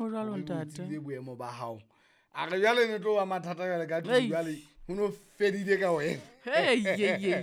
Ho jwalo, Hore o ntate. tsebile boemo ba hao. A re jwale ne tlo ba mathata jwale ka tlung Ei. jwale ho no fedile ka wena. Hei, ye, ye, ye.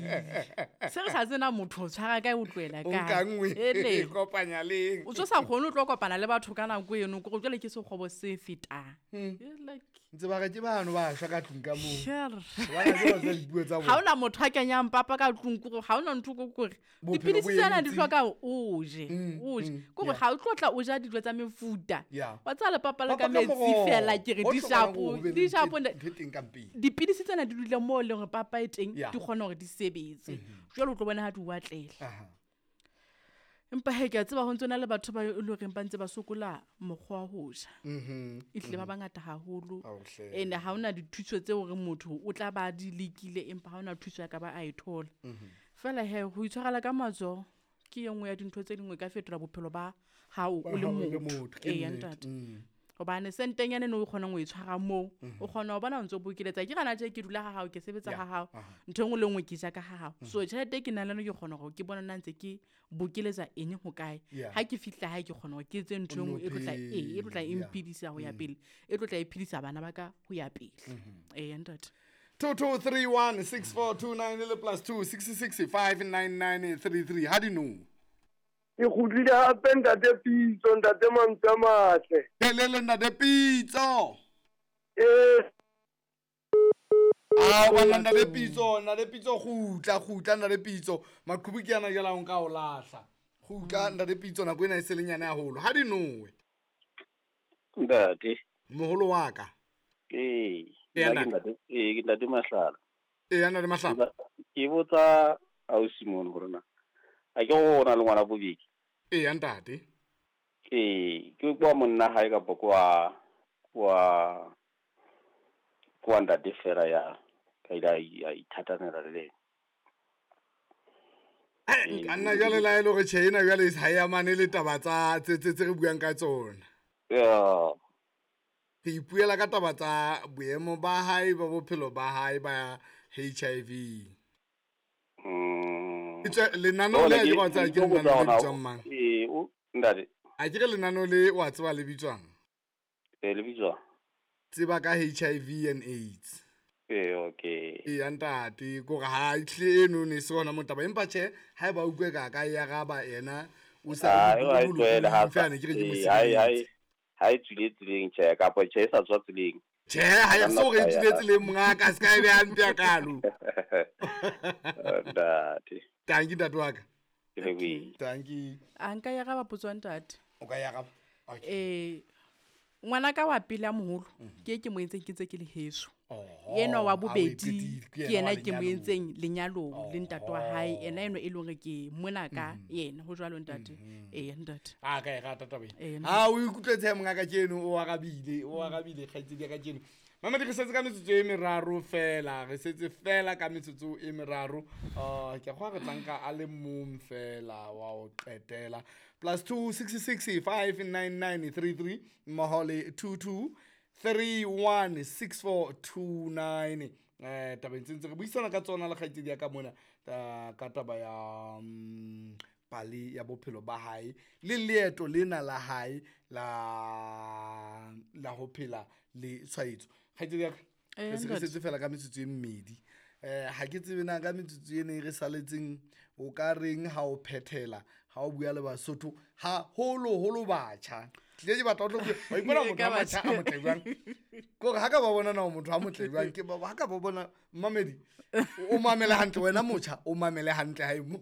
Se re sa tsena motho o tshwara kae o tlohela O kae. nka nngwe Ele. e kopanya leng. O tso sa kgone o tlo kopana le batho ka nako eno kore jwale ke sekgobo se fetang. It's like, Ntse ba re ke bano ba shwa ka tlung ka moo. sure. Hobane ha ke ba tseba dipuo tsa Ha bona. hona motho a kenyang papa ka tlung kore ha hona ntho ko kore. Bophelo Dipidisi bo tsena di entse. hloka o je, o je. Kore yeah. ha o tlo tla o ja dijo tsa mefuta. Yeah. Wa tseba le papa le Papa ka ka metsi moroho. fela ke re Ho di hlokahalang shapo, hore ho be le di shapo ntho e teng ka mpeng. Dipidisi tsena di dule moo e leng hore papa e teng Yeah. di kgona hore di sebetse. Jwale o tlo bona ha di o atlela. Aha. Empa hee ke a tseba ho ntso na le batho ba e leng horeng ba ntse ba sokola mokgwa wa ho ja. Ehlile ba bangata haholo. Ao hle. Ene ha hona dithuso tseo hore motho o tla ba di lekile empa ha hona thuso ya ka ba a e thola. Feela hee ho itshwarela ka matsoho ke e nngwe ya dintho tse ding e ka fetola bophelo ba hao o Ba le hao o le motho. motho, ke Eya nnete. ntate. Hobane sentenyana eno o kgonang ho e tshwara moo, o kgona ho bona o ntso bokeletsa. Ke hana tje ke dula ha hao, ke sebetsa Yeah, ha hao. aha. Ntho e nngwe le nngwe ke ja ka ha hao. So tjhelete e ke nang le yona ke kgona hore ke bone na ntse ke bokeletsa eng ho kae. Yeah. Ha ke fihla hae ke kgona hore ke etse ntho e O nngwe e tlo tla, nno ee, e tlo tla e phele, yeah. mphedisa ho ya pele. E tlo tla e phedisa bana ba ka ho ya pele. Eya ntate. 22316429 le plus 2 66 599 33. Ha di no. Ke kgutlile hape ntate Pitso, ntate mantswe a matle. Helele ntate Pitso. Eh, Ao banna ntate Pitso, ntate Pitso kgutla, kgutla ntate Pitso. Maqhubu ke yana jwale a o nka o lahla. Kgutla ntate Pitso nako ena e se le nyane haholo. Ha di nowe. Ntate. Moholo wa ka. Ee, Eya, nna ke ntate. ntate, ee, ke ntate Mahlala. Eya ntate Mahlala. Ke botsa ausi mono hore na a ke go na le ngwana bobedi. Eya ntate. Ee, ke kwa monna hae kapa kwa ntate fela ya ka ile a ithatanela le ena. Ka nna jwale la e le hore tjhe ena jwale ha e amane le taba tsa tse re buang ka tsona. Yeah. Re ipuela ka taba tsa boemo ba hae ba bophelo ba hae ba HIV. Etswe lenaneo le a ke wa tseba ke lenaneo le bitswang mang? Ee, o ntate. A ke re lenaneo le wa tseba le bitswang? Ee, le bitswang? Tseba ka HIV and AIDS. Ee, okay. Eya ntate, kore ha ehlile eno ne se hona motaba empa tjhe haeba o utlwe ka ka e araba yena o sa Ah, eo ha e tlohele ha feela ne ke re ke mo ee, ha e- ha e- sireletse. ha e tswile tseleng tjhe, kapa tjhe e sa tswa tseleng. Tjhe, ha e so re e tswile tseleng mongaka, se ka e beha hampe hakalo. Ntate. Tanki ntate wa ka. Ke lebohile. Tanki. A nka e araba potso ya ntate. O ka e araba? Okay. Ngwana ka wa pele a moholo, ke e ke mo entseng ke ntse ke le heso. Oho, Enwa wa ha o e bobedi, qetile, ke ke yena yena wa ke mo lenyalong. entseng lenyalong le ntate wa hae. Ena eno e leng hore ke mona ka yena, ho jwalo ntate. Eya ntate. A ka e rata taba ena. Eya, ntate. Ha o ikutlwetse mongaka keno, o arabile, o arabile kgaitsedi ya ka keno. Mamedi, re setse ka metsotso e meraro fela, re setse fela ka metsotso e meraro. Ke a kgolwa re tla nka a le mong fela wa ho qetela. Plus 2 66 599 33 mmoho le 2 2 3 1 6 4 2 9. Tabeng tse ntse re buisana ka tsona le kgaitsedi ya ka mona, ka taba ya, pale ya bophelo ba hae le leeto lena la hae la ho phela le tshwaetso. Kgaitsedi ya ka, re se re Ntate. setse fela ka metsotso e mmedi. Ha ke tsebe na ka metsotso ena e re saletseng o ka reng ha o phethela, ha o bua le Basotho, haholoholo batjha. Tlile ke batla ho tlo bua, wa ipona Ee, motho ka wa motjha a batjha. motle jwang? Ke hore ha ka ba bona na o motho a motle jwang, ke ba, ha ka ba bona mmamedi, o mamele hantle, wena motjha, o mamele hantle hae mo.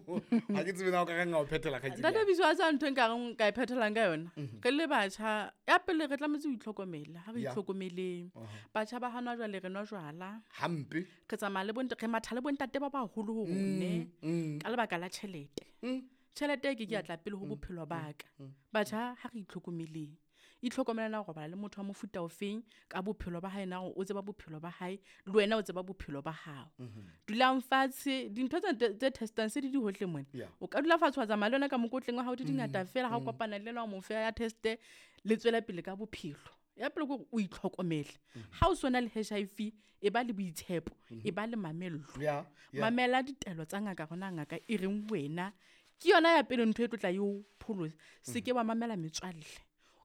Ha ke tsebe na o ka reng ha o phethela kgaitsedi Ntate ya ka. Biso, a tsa ntho e nka reng ka e phethelang ka yona. Re le batjha, ya pele re tlametse ho itlhokomela, ha re Yeah. itlhokomeleng. Batjha ba hana jwale re nwa jwala. Hampe. Re tsamaya le bontate, re matha le bontate ba baholo ho rone ka lebaka la tjhelete. Tjhelete e ke ke ya tla pele ho bophelo ba ka. Batjha ha re itlhokomeleng. Itlhokomela na ho robala le motho wa mofuta ofeng ka bophelo ba hae, na o tseba bophelo ba hae le wena o tseba bophelo ba hao. Dulang fatshe, dintho tse testang se di di hohle mona. Yeah. O ka dula fatshe wa tsamaya le yona ka mokotleng wa hao di dingata fela, ha o kopana le yena wa mo fa ya teste, le tswela pele ka bophelo. Ya pele ke hore o itlhokomele. Ha o sona le HIV, e ba le boitshepo, e ba le mamello. Yeah, yeah. Mamela ditaelo tsa ngaka rona ngaka e reng wena. Ke yona ya pele ntho e tlo tla e o pholosa. Se ke wa mamela metswalle.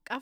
Ka